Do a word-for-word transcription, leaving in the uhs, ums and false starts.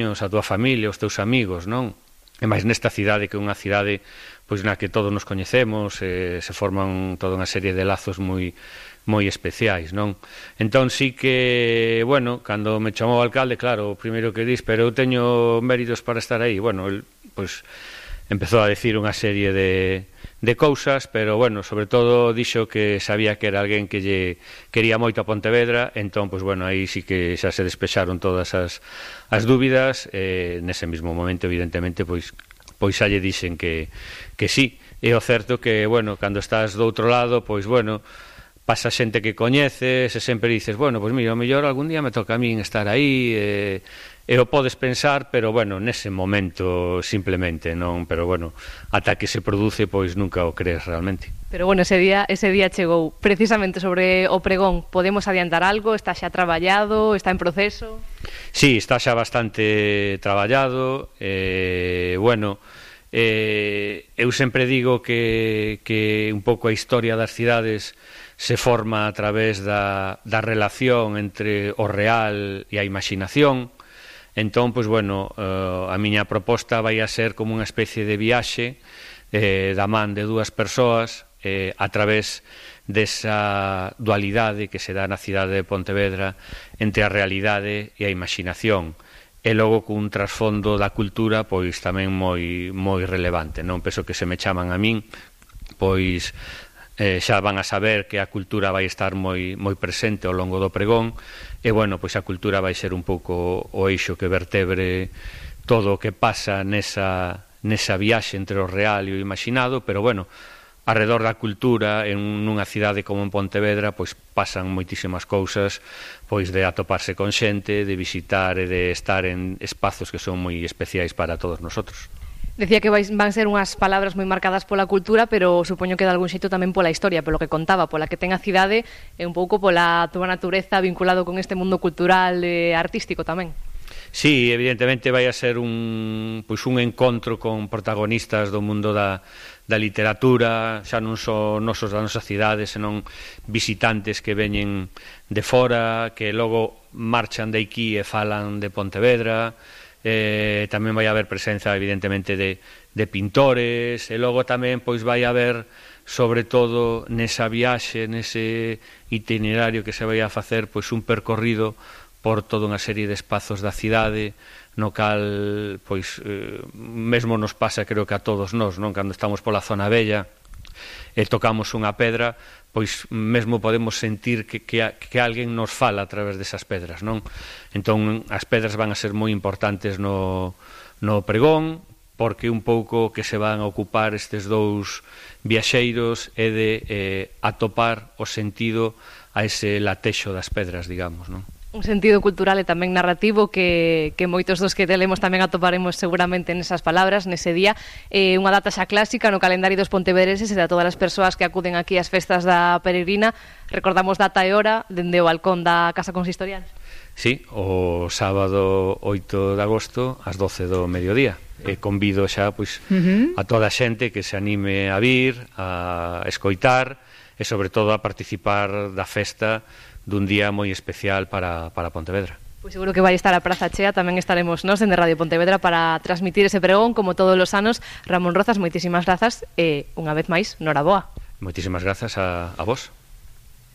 a túa familia, os teus amigos, non? E máis nesta cidade que é unha cidade pois na que todos nos coñecemos, eh, se forman toda unha serie de lazos moi moi especiais, non? Entón sí que, bueno, cando me chamou o alcalde, claro, o primeiro que dis, pero eu teño méritos para estar aí. Bueno, el, pois, empezou a decir unha serie de, de cousas, pero, bueno, sobre todo dixo que sabía que era alguén que lle quería moito a Pontevedra, entón, pois, bueno, aí sí que xa se despexaron todas as, as dúbidas, eh, nese mesmo momento, evidentemente, pois, pois xa lle dixen que, que sí. É o certo que, bueno, cando estás do outro lado, pois, bueno, pasa xente que coñeces e sempre dices, bueno, pois mira, o mellor algún día me toca a min estar aí, e, e o podes pensar, pero, bueno, nese momento simplemente, non, pero, bueno, ata que se produce, pois nunca o crees realmente. Pero, bueno, ese día, ese día chegou. Precisamente sobre o pregón, podemos adiantar algo? Está xa traballado? Está en proceso? Sí, está xa bastante traballado, eh, bueno, eh, eu sempre digo que, que un pouco a historia das cidades se forma a través da, da relación entre o real e a imaginación. Entón, pois, bueno, eh, a miña proposta vai a ser como unha especie de viaxe eh, da man de dúas persoas eh, a través desa dualidade que se dá na cidade de Pontevedra entre a realidade e a imaginación, e logo cun trasfondo da cultura pois tamén moi moi relevante, non? Penso que se me chaman a min, pois eh, xa van a saber que a cultura vai estar moi moi presente ao longo do pregón, e, bueno, pois a cultura vai ser un pouco o eixo que vertebre todo o que pasa nesa, nesa viaxe entre o real e o imaginado, pero, bueno, arredor da cultura, en nunha cidade como en Pontevedra, pois pasan moitísimas cousas, pois de atoparse con xente, de visitar e de estar en espazos que son moi especiais para todos nosotros. Decía que vais, van ser unhas palabras moi marcadas pola cultura, pero supoño que de algún xeito tamén pola historia, polo que contaba, pola que ten a cidade e un pouco pola túa natureza vinculado con este mundo cultural e artístico tamén. Sí, evidentemente vai a ser un, pois un encontro con protagonistas do mundo da, da literatura, xa non só nosos da nosa cidade, senón visitantes que veñen de fora, que logo marchan de aquí e falan de Pontevedra. Eh, tamén vai haber presenza evidentemente de, de pintores, e logo tamén pois vai haber sobre todo nesa viaxe, nese itinerario que se vai a facer, pois un percorrido por toda unha serie de espazos da cidade, no cal pois eh, mesmo nos pasa, creo que a todos nós, non? Cando estamos pola zona bella e tocamos unha pedra, pois mesmo podemos sentir que, que, que alguén nos fala a través desas pedras, non? Entón, as pedras van a ser moi importantes no, no pregón, porque un pouco que se van a ocupar estes dous viaxeiros é de eh, atopar o sentido a ese latexo das pedras, digamos, non? Un sentido cultural e tamén narrativo que, que moitos dos que telemos tamén atoparemos seguramente nesas palabras, nese día. Eh, unha data xa clásica no calendario dos pontevedreses e de todas as persoas que acuden aquí ás festas da peregrina. Recordamos data e hora dende o balcón da Casa Consistorial. Sí, o sábado oito de agosto ás doce do mediodía. E convido xa pois, uh-huh. a toda a xente que se anime a vir, a escoitar e sobre todo a participar da festa dun día moi especial para, para Pontevedra. Pois seguro que vai estar a Praza chea, tamén estaremos nós en Radio Pontevedra para transmitir ese pregón como todos os anos. Ramón Rozas, moitísimas grazas e unha vez máis, noraboa. Moitísimas grazas a, a vos.